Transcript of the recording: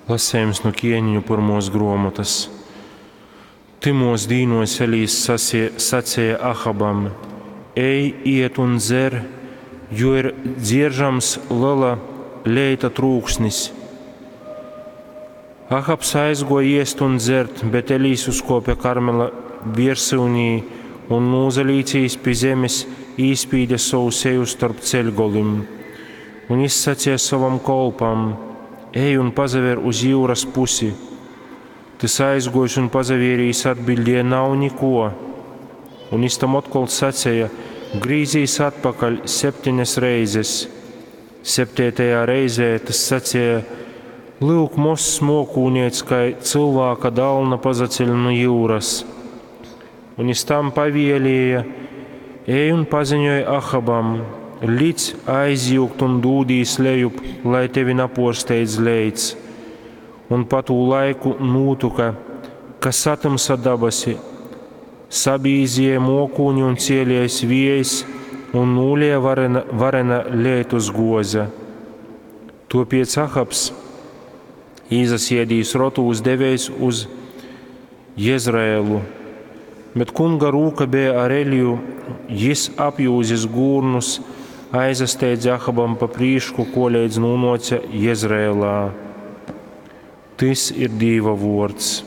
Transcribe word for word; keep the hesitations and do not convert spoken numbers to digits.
Lasejums nu Kieneņu pyrmuos gruomotys. Tymuos dīnuos Elijs saceja Ahabam, Ej, ied un dzer, jo ir dzieržams lela leita trūksnis. Ahabs aizguoja iest un dzert, bet Elijs uzkuope Karmela viersyunī un, nūsalīcīs pi zemes, īspīde sovu seju storp ceļgolim. Un jis saceja sovam kolpam: Ej un pasaver uz jiuras pusi. Tys aizguojis un pasavērīs atbiļdēja: Nav nikuo. Un jis tam otkol saceja: Grīzīs atpakaļ septeņas reizes. Septeitajā reizē tys saceja: Lyuk, mozs muokūneits kai cylvāka dalna pasaceļ nu jiuras. Un jis tam pavielēja: Ej un paziņoj Ahabam: Lic aizjiugt un dūdīs lejup, lai tevi napuorsteidz leits. Un pa tū laiku nūtyka, ka satymsa dabasi, sabīzēja muokūni un cielēs viejs, un nūlēja varena, varena leitus guoze. Tuopiec Ahabs, īsasiedīs rotūs, devēs uz Jezraelu. Bet kunga rūka beja ar Eliju, jis apjūzis gūrnus, aizasteidze Ahabam pa prīšku, koleidz nūnuoce Jezraelā. Tys ir Dīva vuords.